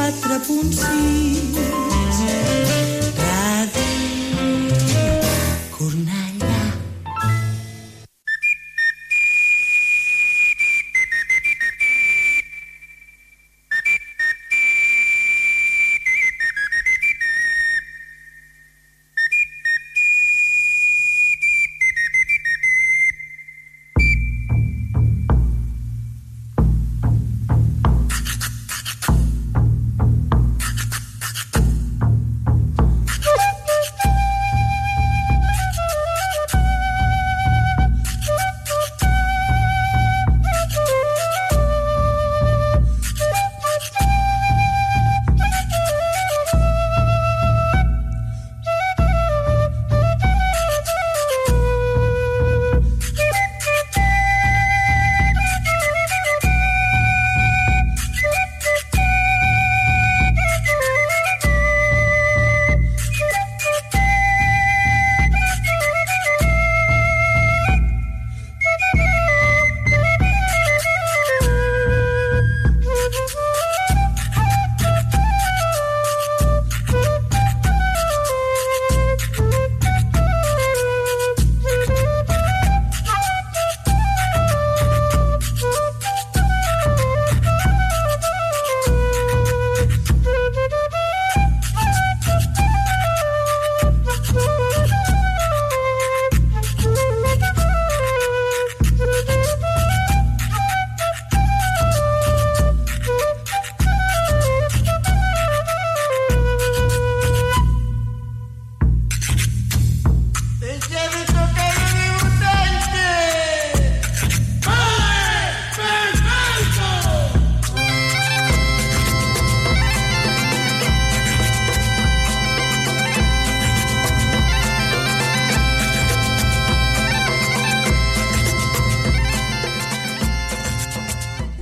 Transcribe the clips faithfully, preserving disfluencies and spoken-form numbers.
quatre punt sis.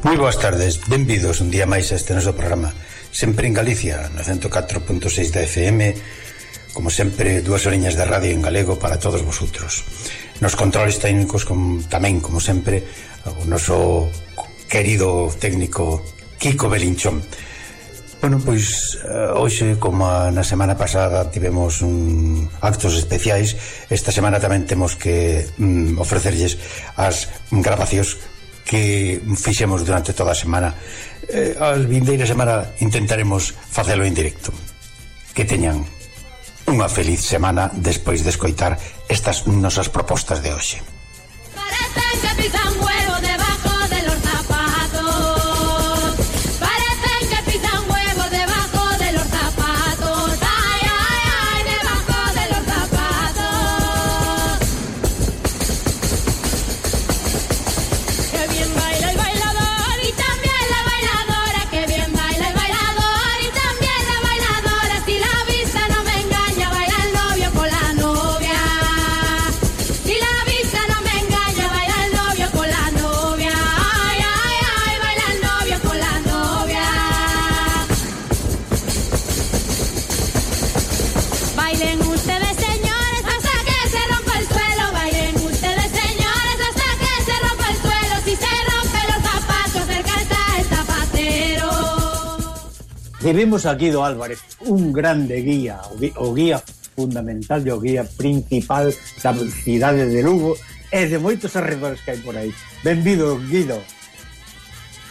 Moi boas tardes, benvidos un día máis a este noso programa, sempre en Galicia, no ciento catro punto seis da F M, como sempre, dúas oriñas de radio en galego para todos vosotros. Nos controles técnicos, como, tamén, como sempre, o noso querido técnico Kiko Belinchón. Bueno, pois, hoxe, como na semana pasada tivemos un actos especiais, esta semana tamén temos que mm, ofrecerlles as grabacións que fixemos durante toda a semana. eh, a vindeira semana intentaremos facelo en directo. Que teñan unha feliz semana despois de escoitar estas nosas propostas de hoxe. Parecen que pisan huevo debajo de los zapatos. Parecen que pisan huevo debajo de los zapatos. Ay, ay, ay, debajo de los zapatos. Qué bien baila el bailador y también la bailadora. Qué bien baila el bailador y también la bailadora. Si la vista no me engaña, baila el novio con la novia. Si la vista no me engaña, baila el novio con la novia. Ay, ay, ay, baila el novio con la novia. Bailen ustedes, señores, hasta que se rompa el suelo. Bailen ustedes, señores, hasta que se rompa el suelo. Si se rompen los zapatos, cerca está el zapatero. Tivemos a Guido Álvarez, un grande guía, o guía, o guía fundamental e o guía principal da cidade de Lugo e de moitos arredores que hai por aí. Benvido, Guido.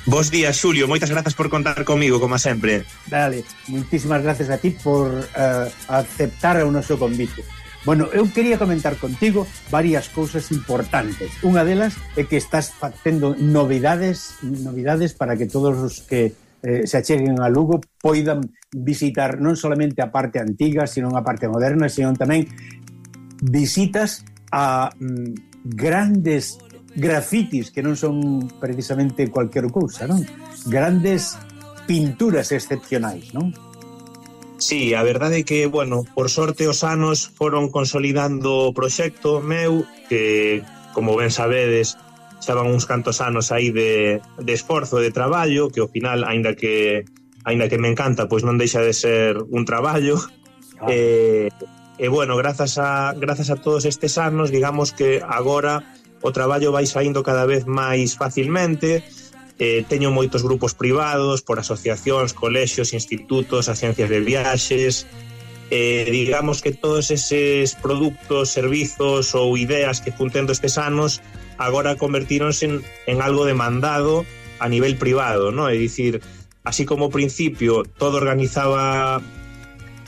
Bos días, Xulio, moitas grazas por contar comigo, como sempre. Dale, moitísimas gracias a ti por uh, aceptar o noso convite. Bueno, eu quería comentar contigo varias cousas importantes. Unha delas é que estás facendo novidades novidades para que todos os que eh, se acheguen a Lugo poidan visitar non solamente a parte antiga, sino a parte moderna, sino tamén visitas a mm, grandes grafitis que non son precisamente cualquier cousa, non? Grandes pinturas excepcionais, non? Sí, a verdade é que, bueno, por sorte os anos foron consolidando o proxecto meu, que, como ben sabedes, xa van uns cantos anos aí de, de esforzo, de traballo, que ao final, aínda que aínda que me encanta, pois non deixa de ser un traballo. Ah. E, e, bueno, grazas a, grazas a todos estes anos, digamos que agora o traballo vai saindo cada vez máis facilmente, eh, teño moitos grupos privados por asociacións, colexios, institutos, agencias de viaxes. Eh, digamos que todos eses productos, servizos ou ideas que fun tendo estes anos agora convertíronse en, en algo demandado a nivel privado, ¿no? É dicir, así como ao principio todo organizaba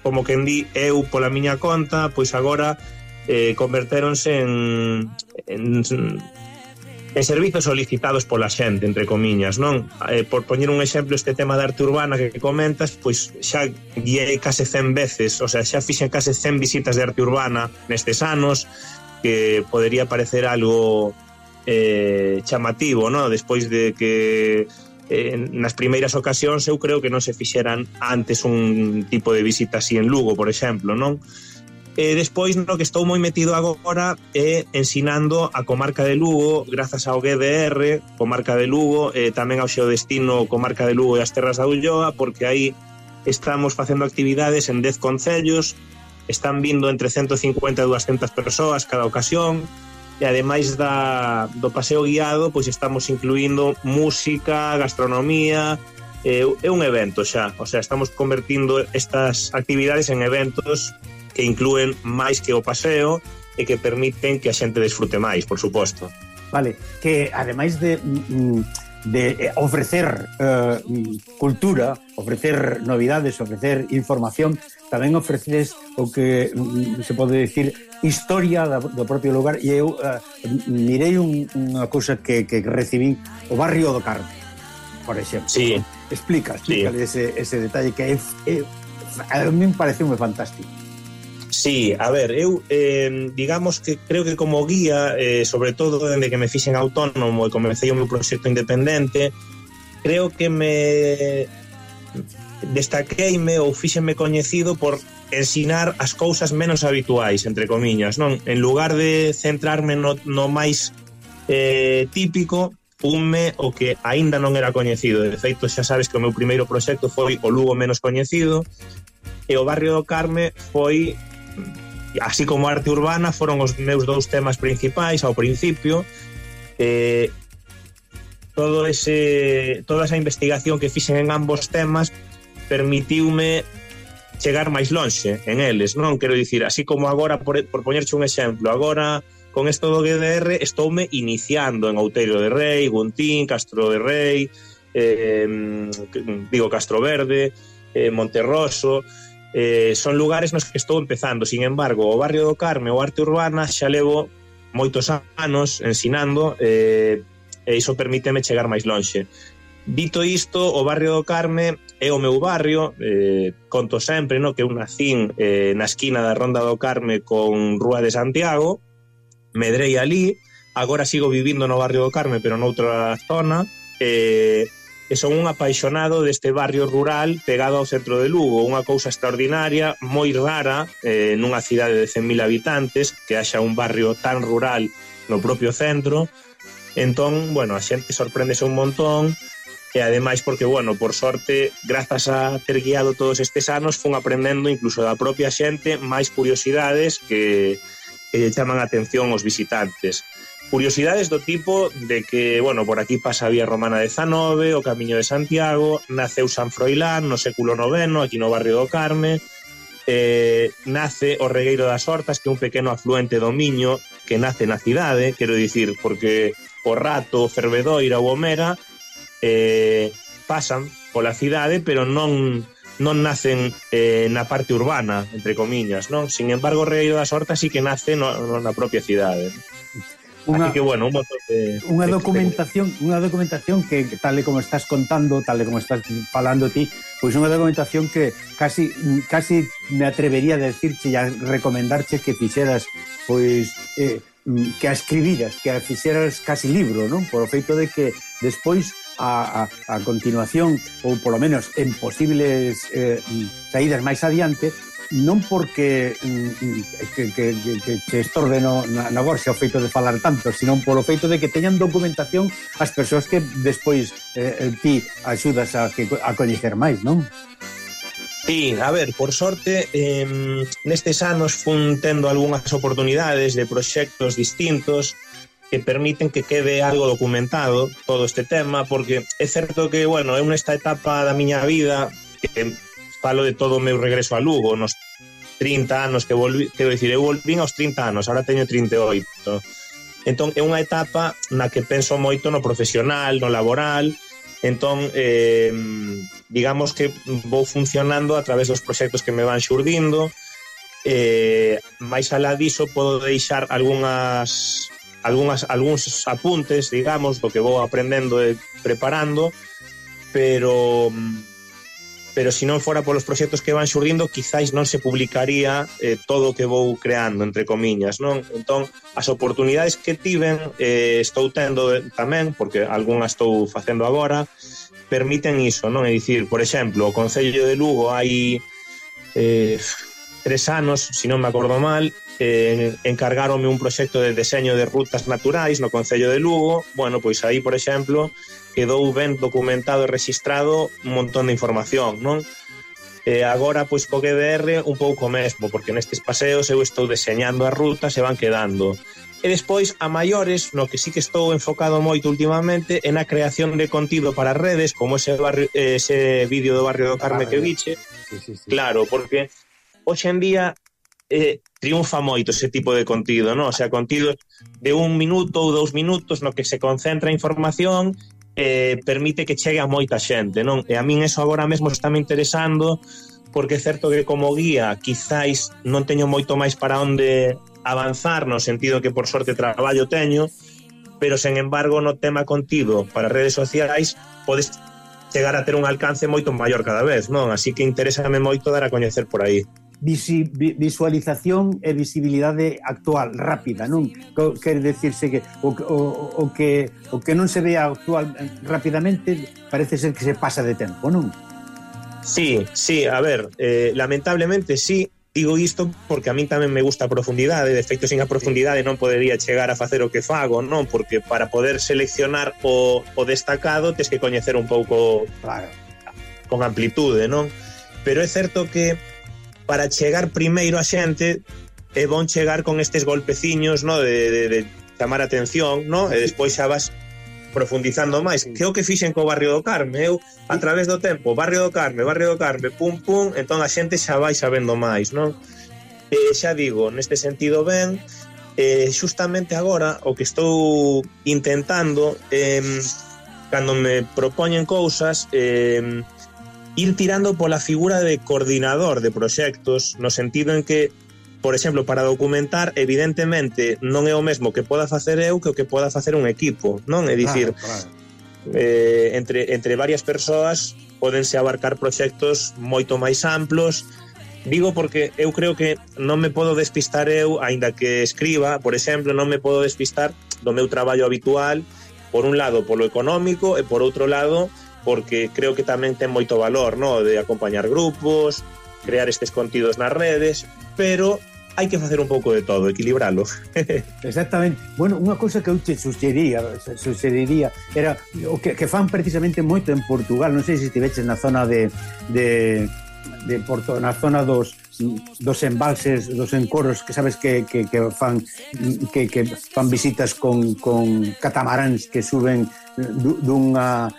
como quen di eu pola miña conta, pois agora eh, convertéronse en, en, en servizos solicitados pola xente, entre comiñas, non? Eh, por poñer un exemplo, este tema da arte urbana que comentas, pois xa guiei case cen veces, o sea, xa fixen case cen visitas de arte urbana nestes anos, que podería parecer algo eh, chamativo, non? Despois de que eh, nas primeiras ocasións eu creo que non se fixeran antes un tipo de visita así en Lugo, por exemplo, non? E despois, no que estou moi metido agora é ensinando a comarca de Lugo, grazas ao G D R, comarca de Lugo, e tamén ao Xeodestino, comarca de Lugo e as Terras da Ulloa, porque aí estamos facendo actividades en dez concellos, están vindo entre ciento cincuenta e doscientas persoas cada ocasión, e ademais da, do paseo guiado, pois estamos incluindo música, gastronomía, é, é un evento xa, o sea, estamos convertindo estas actividades en eventos que inclúen máis que o paseo e que permiten que a xente desfrute máis, por suposto. Vale, que ademais de, de ofrecer uh, cultura, ofrecer novidades, ofrecer información, tamén ofreces o que se pode decir historia do propio lugar, e eu uh, mirei un, unha cousa que, que recibí, o barrio do Carme, por exemplo. Sí. Explica, explícale sí. ese, ese detalle que é, é, a mí me pareceu moi fantástico. Sí, a ver, eu eh, digamos que creo que como guía, eh, sobre todo dende que me fixen autónomo e comecei o meu proxecto independente, creo que me destaqueime ou fíxenme coñecido por ensinar as cousas menos habituais, entre comiñas, non? En lugar de centrarme no, no máis eh, típico, unme o que aínda non era coñecido. De feito, xa sabes que o meu primeiro proxecto foi o Lugo menos coñecido, e o barrio do Carme foi, así como a arte urbana, foron os meus dous temas principais ao principio. Eh, todo ese, toda esa investigación que fixen en ambos temas permitiume chegar máis lonxe en eles, non? Quero dicir, así como agora, por, por poñerche un exemplo, agora con esto do G D R estoume iniciando en Outeiro de Rei, Guntín, Castro de Rei, eh, digo Castro Verde, eh, Monterroso. Eh, son lugares nos que estou empezando. Sin embargo, o barrio do Carme ou arte urbana xa levo moitos anos ensinando, eh, e iso permíteme chegar máis lonxe. Dito isto, o barrio do Carme é o meu barrio, eh, conto sempre, no, que eu nacín eh, na esquina da Ronda do Carme con Rúa de Santiago, medrei ali, agora sigo vivindo no barrio do Carme pero noutra zona, e eh, e son un apaixonado deste barrio rural pegado ao centro de Lugo, unha cousa extraordinaria, moi rara eh, nunha cidade de cen mil habitantes, que haxa un barrio tan rural no propio centro. Entón, bueno, a xente sorpréndese un montón, e ademais porque, bueno, por sorte, grazas a ter guiado todos estes anos, fun aprendendo incluso da propia xente máis curiosidades que, que chaman a atención aos visitantes. Curiosidades do tipo de que, bueno, por aquí pasa a Vía Romana dezanove, o Camiño de Santiago, naceu San Froilán no século noveno, aquí no barrio do Carme, eh, nace o Regueiro das Hortas, que é un pequeno afluente do Miño, que nace na cidade, quero dicir, porque o Rato, o Fervedoira ou o Mera eh, pasan pola cidade, pero non non nacen eh, na parte urbana, entre comiñas, non? Sin embargo, o Regueiro das Hortas sí que nace no, no, na propia cidade. Unha, así que, bueno, un montón de... Unha documentación, unha documentación que, tal e como estás contando, tal e como estás falando ti, pois unha documentación que casi, casi me atrevería a decirche e a recomendarche que fixeras, pois, eh, que a escribiras, que a fixeras casi libro, non? Por o feito de que despois, a, a, a continuación, ou polo menos en posibles eh, saídas máis adiante, non porque que, que, que, que estorbe no, na, na gorxa o feito de falar tanto, sino polo feito de que teñan documentación as persoas que despois eh, ti axudas a, que, a coñecer máis, non? Sí, a ver, por sorte, eh, nestes anos fun tendo algunhas oportunidades de proxectos distintos, que permiten que quede algo documentado todo este tema, porque é certo que, bueno, é nesta etapa da miña vida que falo de todo o meu regreso a Lugo, nos trinta anos que volví, quero dicir, eu volvín aos trinta anos, ahora teño trinta e oito. Entón, é unha etapa na que penso moito no profesional, no laboral. Entón, eh, digamos que vou funcionando a través dos proxectos que me van xurdindo. Eh, máis alá diso, podo deixar algunhas, algunhas, algúns apuntes, digamos, do que vou aprendendo e preparando, pero... pero se non fora polos proxectos que van xurdindo, quizáis non se publicaría eh, todo o que vou creando, entre comiñas, non? Entón, as oportunidades que tiven, eh, estou tendo tamén, porque algunhas estou facendo agora, permiten iso, non? É dicir, por exemplo, o Concello de Lugo hai eh, tres anos, se non me acordo mal, eh, encargáronme un proxecto de deseño de rutas naturais no Concello de Lugo. Bueno, pois aí, por exemplo, quedou ben documentado e registrado un montón de información, non? E agora, pois, co G D R un pouco mesmo, porque nestes paseos eu estou deseñando as rutas e van quedando. E despois, a maiores, no que sí que estou enfocado moito últimamente, é na creación de contido para redes, como ese, barrio, ese vídeo do Barrio do Carme que viche. Sí, sí, sí. Claro, porque hoxe en día eh, triunfa moito ese tipo de contido, non? O sea, contido de un minuto ou dous minutos no que se concentra a información, Eh, permite que chegue a moita xente, non? E a min eso agora mesmo está me interesando, porque é certo que como guía quizáis non teño moito máis para onde avanzar, no sentido que por sorte traballo teño, pero sen embargo no tema contido para redes sociais podes chegar a ter un alcance moito maior cada vez, non? Así que interésame moito dar a coñecer por aí. Visi, visualización e visibilidade actual, rápida, non? Quer decirse que o, o, o que o que non se vea actual rapidamente parece ser que se pasa de tempo, non? Sí, sí, a ver, eh, lamentablemente sí, digo isto porque a mí tamén me gusta a profundidade, de feito sin a profundidade non podería chegar a facer o que fago, non? Porque para poder seleccionar o, o destacado tes que coñecer un pouco, claro, con amplitude, non? Pero é certo que para chegar primeiro a xente é bon chegar con estes golpeciños, no, de, de, de chamar a atención, no? E despois xa vas profundizando máis. Que é o que fixen co Barrio do Carme? Eu, a través do tempo, Barrio do Carme, Barrio do Carme, pum, pum, entón a xente xa vai sabendo máis, non? E xa digo, neste sentido ben, eh, xustamente agora o que estou intentando, eh, cando me propoñen cousas, eh, ir tirando pola figura de coordinador de proxectos, no sentido en que, por exemplo, para documentar, evidentemente, non é o mesmo que poda facer eu que o que poda facer un equipo, non? É dicir, claro, claro. Eh, entre, entre varias persoas pódense abarcar proxectos moito máis amplos. Digo porque eu creo que non me podo despistar eu, aínda que escriba, por exemplo, non me podo despistar do meu traballo habitual, por un lado, polo económico, e por outro lado, porque creo que tamén ten moito valor, ¿no? De acompañar grupos, crear estes contidos nas redes, pero hai que facer un pouco de todo, equilibralo. Exactamente. Bueno, unha cousa que eu te suxeriría, suxeriría era o que, que fan precisamente moito en Portugal, non sei se estiveches na zona de, de, de Porto, na zona dos dos embalses, dos encoros, que sabes que, que, que fan que, que fan visitas con, con catamaráns que suben dunha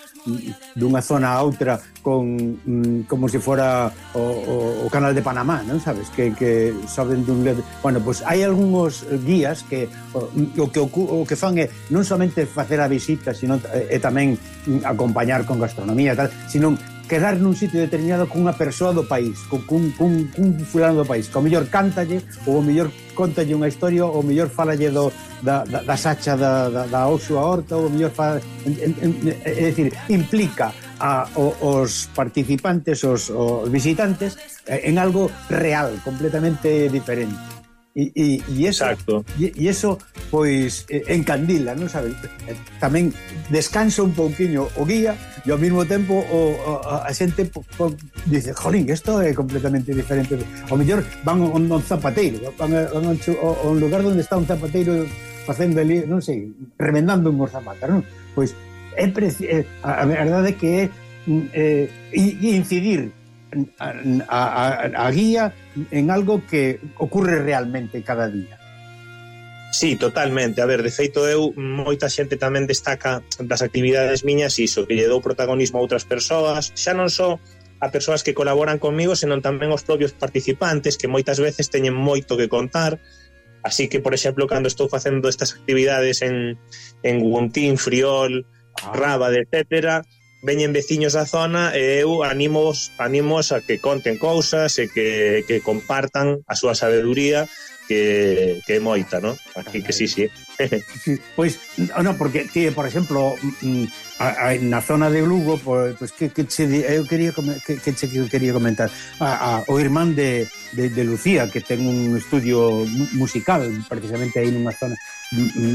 dunha zona a outra con como se fora o, o, o canal de Panamá, non sabes? Que, que saben dun lado. Bueno, pois pues hai algúns guías que o, o que o que fan é non somente facer a visita, sino e, e tamén acompañar con gastronomía e tal, sino quedar nun sitio determinado cunha persoa do país, con cun, cun, cun fulano do país, que o mellor cántalle, ou o mellor contalle unha historia, ou o mellor falalle do, da, da, da sacha da, da, da oso a horta, ou o mellor fala, é dicir, implica a, o, os participantes, os, os visitantes, en algo real, completamente diferente. E, e, e eso, e, e eso pois encandila, non sabes? Tamén descansa un pouquiño o guía e ao mesmo tempo o, a, a xente po, po, dice, jolín, isto é completamente diferente. Ao mellor van a un, un zapateiro, van a, van a, a un lugar onde está un zapateiro facendo ali, non sei, remendando unhos zapatos, non? Pois é preci- a, a verdade é que é eh, incidir A, a, a guía en algo que ocurre realmente cada día. Sí, totalmente. A ver, de feito eu, moita xente tamén destaca das actividades miñas iso, que lle dou protagonismo a outras persoas, xa non só a persoas que colaboran comigo, senón tamén os propios participantes, que moitas veces teñen moito que contar. Así que, por exemplo, cando estou facendo estas actividades en, en Guntín, Friol, Rábade, etcétera, veñen veciños da zona e eu animos, animos a que conten cousas e que, que compartan a súa sabeduría, que, que é moita, ¿no? Así que sí, sí. Sí, pois, no, porque ti, por exemplo, a, a, na zona de Lugo, pois, pues, que, que che, eu quería que, que che quería comentar a, a, o irmán de, de, de Lucía, que ten un estudio musical precisamente aí nunha zona,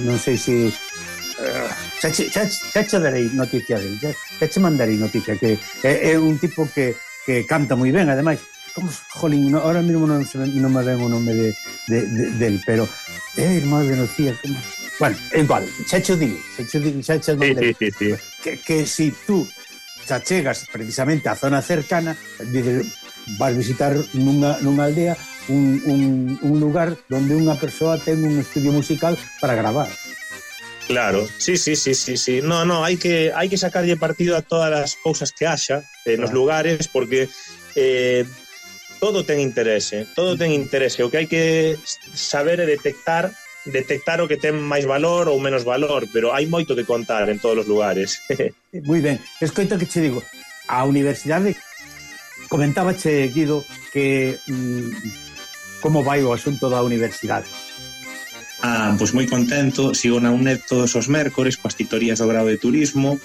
non sei se uh, xa, xa, xa che darei noticia dele, xa, xa che mandarei noticia, que é, é un tipo que, que canta moi ben, ademais. Como, jolín, no, ahora mismo non, non me ven o nome de, de, de, del, pero é irmán de Lucía, como... Bueno, igual, xa che digo, xa che digo, xa che digo, sí, sí, sí, sí. Que, que si tú xa chegas precisamente á zona cercana, dices, vas visitar nunha, nunha aldea un, un, un lugar donde unha persoa ten un estudio musical para gravar. Claro, sí, sí, sí, sí, sí. No, no, hai que hai que sacarlle partido a todas as cousas que haxa eh, nos lugares, porque eh, todo ten interese, todo ten interese. O que hai que saber é detectar detectar o que ten máis valor ou menos valor, pero hai moito que contar en todos os lugares. Moi ben, escoita que che digo, a universidade comentábache, Guido, que mm, como vai o asunto da universidade. Ah, pois moi contento, sigo na UNED todos os mércores coas titorías do grado de turismo,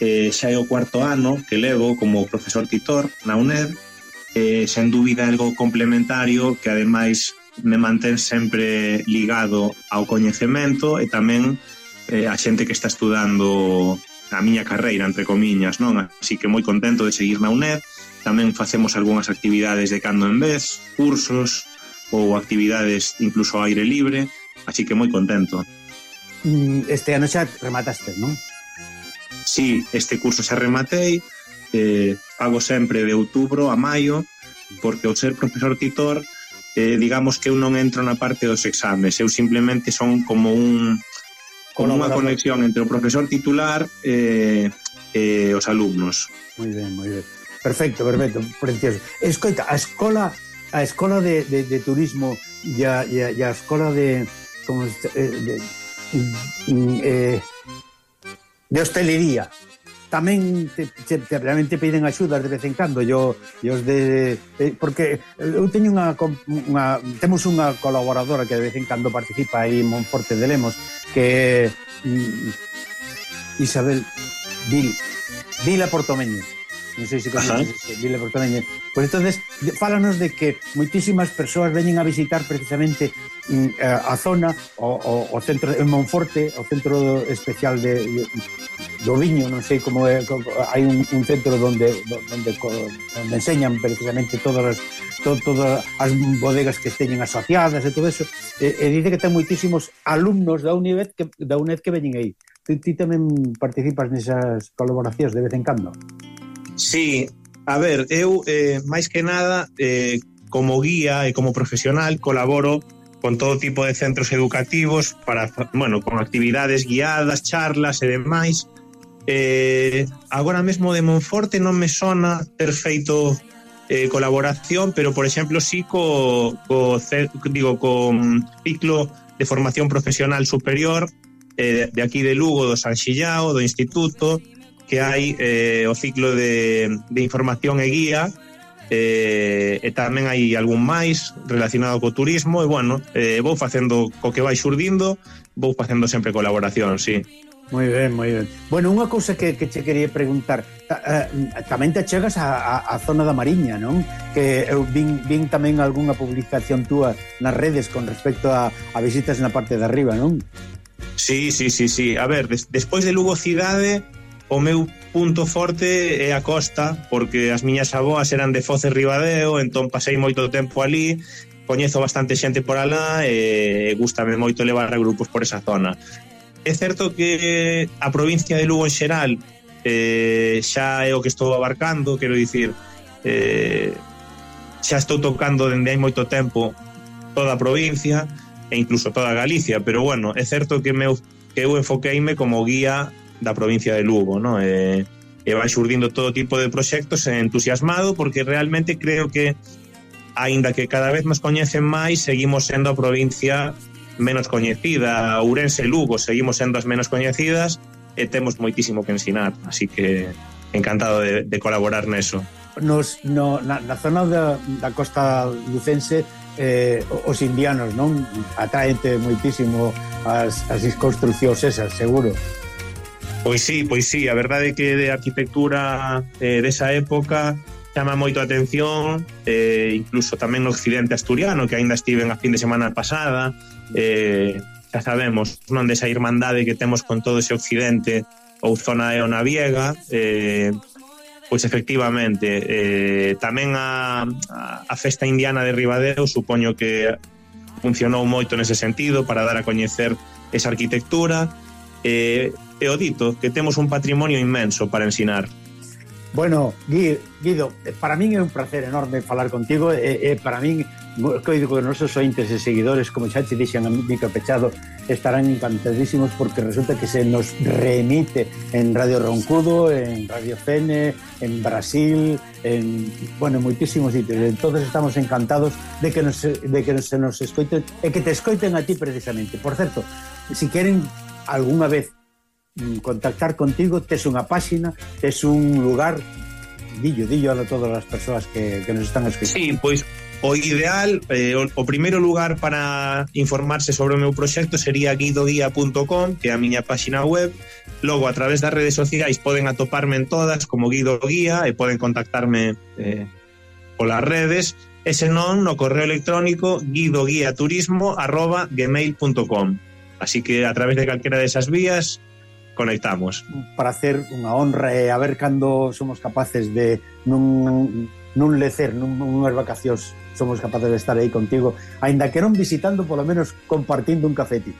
eh, xa é o cuarto ano que levo como profesor titor na UNED, eh, sen dúbida algo complementario que ademais me mantén sempre ligado ao coñecemento e tamén eh, a xente que está estudando a miña carreira, entre comiñas, non? Así que moi contento de seguir na UNED. Tamén facemos algunhas actividades de cando en vez, cursos ou actividades incluso ao aire libre, así que moi contento. Este ano xa remataste, non? Sí, este curso xa rematei, eh, fago sempre de outubro a maio, porque ao ser profesor titor, eh, digamos que eu non entro na parte dos exames, eu simplemente son como un como unha conexión entre o profesor titular e eh, eh, os alumnos. Moi ben, moi ben. Perfecto, perfecto, precioso. Escoita, a escola a escola de, de, de turismo e a, e a, e a escola de como eh, de, eh, de hostelería tamén te, te, te realmente piden axudas de vez en cando. Yo, yo de, de porque eu teño unha, unha temos unha colaboradora que de vez en cando participa aí en Monforte de Lemos, que é Isabel Vil Vila Portomeño. Non sei se conoces Vila Portomeño. Pois entonces, fálanos de que moitísimas persoas veñen a visitar precisamente mm, a zona, o, o, o centro de Monforte, o centro especial de, de do viño, non sei como é, hai un, un centro donde, donde donde enseñan precisamente todas as to, todas as bodegas que teñen asociadas e todo eso, e, e dice que ten moitísimos alumnos da UNED que, da UNED que veñen aí. Ti, ti tamén participas nesas colaboracións de vez en cando? Sí, a ver, eu eh, máis que nada eh, como guía e como profesional colaboro con todo tipo de centros educativos para, bueno, con actividades guiadas, charlas e demais. Eh, agora mesmo de Monforte non me sona ter feito eh, colaboración, pero por exemplo sí co, co digo con ciclo de formación profesional superior eh, de aquí de Lugo, do San Xillao, do Instituto, que hai eh, o ciclo de, de información e guía, eh, e tamén hai algún máis relacionado co turismo, e bueno, eh, vou facendo co que vai xurdindo, vou facendo sempre colaboración, sí. Moi ben, moi ben. Bueno, unha cousa que, que che quería preguntar, uh, tamén te chegas a, a, a zona da Mariña, non? Que eu vin, vin tamén algunha publicación túa nas redes con respecto a, a visitas na parte de arriba, non? Sí, sí, sí, sí. A ver, des, despois de Lugo cidade, o meu punto forte é a costa, porque as miñas avoas eran de Foz e Ribadeo, entón pasei moito tempo ali, coñezo bastante xente por alá e gústame moito levar a grupos por esa zona. É certo que a provincia de Lugo en xeral eh, xa é o que estou abarcando, quero dicir, eh, xa estou tocando dende hai moito tempo toda a provincia, e incluso toda Galicia, pero bueno, é certo que, meu, que eu enfoqueime como guía da provincia de Lugo, ¿no? E, e vai xurdindo todo tipo de proxectos, entusiasmado, porque realmente creo que aínda que cada vez nos coñecen máis, seguimos sendo a provincia menos coñecida. Ourense e Lugo seguimos sendo as menos coñecidas e temos moitísimo que ensinar, así que encantado de, de colaborar neso. Nos, no, na, na zona da, da costa lucense, eh, os indianos, non? Atraente moitísimo as, as construcións esas, seguro. Pois sí, pois sí, a verdade é que de arquitectura eh, desa época chama moito a atención, eh, incluso tamén no occidente asturiano, que aínda estiven a fin de semana pasada, eh, xa sabemos, non, desa irmandade que temos con todo ese occidente ou zona eonaviega, eh, pois efectivamente, eh, tamén a, a, a festa indiana de Ribadeo supoño que funcionou moito nese sentido para dar a coñecer esa arquitectura, eh, e o dito, que temos un patrimonio inmenso para ensinar. Bueno, Guido, para min é un placer enorme falar contigo e, e para min, coido que os nosos ointes e seguidores, como xa te dixen a micro pechado, estarán encantadísimos porque resulta que se nos remite en Radio Roncudo, en Radio Fene, en Brasil, en, bueno, moitísimos sitios. Entonces estamos encantados de que, nos, de que se nos escoiten e que te escoiten a ti precisamente. Por certo, si queren algunha vez contactar contigo, tes unha páxina, tes un lugar, dillo, dillo a todas as persoas que, que nos están escoitando. Sí, pois o ideal, eh, o, o primeiro lugar para informarse sobre o meu proxecto sería guido guía punto com, que é a miña páxina web. Logo, a través das redes sociais poden atoparme en todas como Guido Guía e poden contactarme eh, polas redes, e senón no correo electrónico guidoguiaturismo arroba gmail punto com. Así que a través de calquera desas vías conectamos. Para hacer unha honra e a ver cando somos capaces de nun, nun lecer, nun, nunhas vacacións somos capaces de estar aí contigo, aínda que non visitando, polo menos compartindo un cafeti.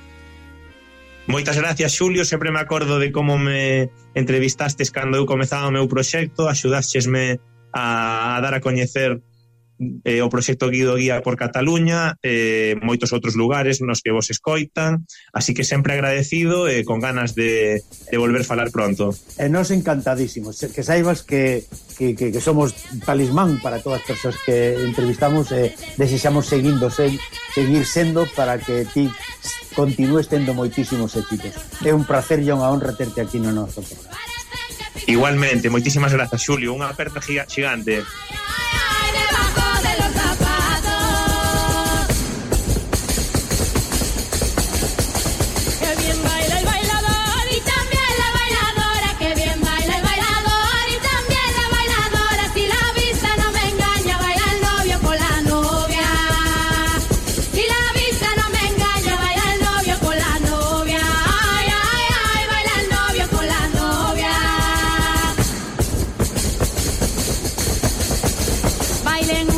Moitas gracias, Xulio, sempre me acordo de como me entrevistastes cando eu comezaba o meu proxecto, axudáchesme a, a dar a coñecer eh, o proxecto Guido Guía por Cataluña, eh, moitos outros lugares nos que vos escoitan, así que sempre agradecido e eh, con ganas de, de volver falar pronto. E nos encantadísimos, que saibas que, que, que, que somos talismán para todas as persoas que entrevistamos e eh, desexamos seguindo, se, seguir sendo para que ti continúes tendo moitísimos éxitos. É un placer e unha honra terte aquí no noso programa. Igualmente, moitísimas grazas, Xulio, unha aperta gigante. Bailen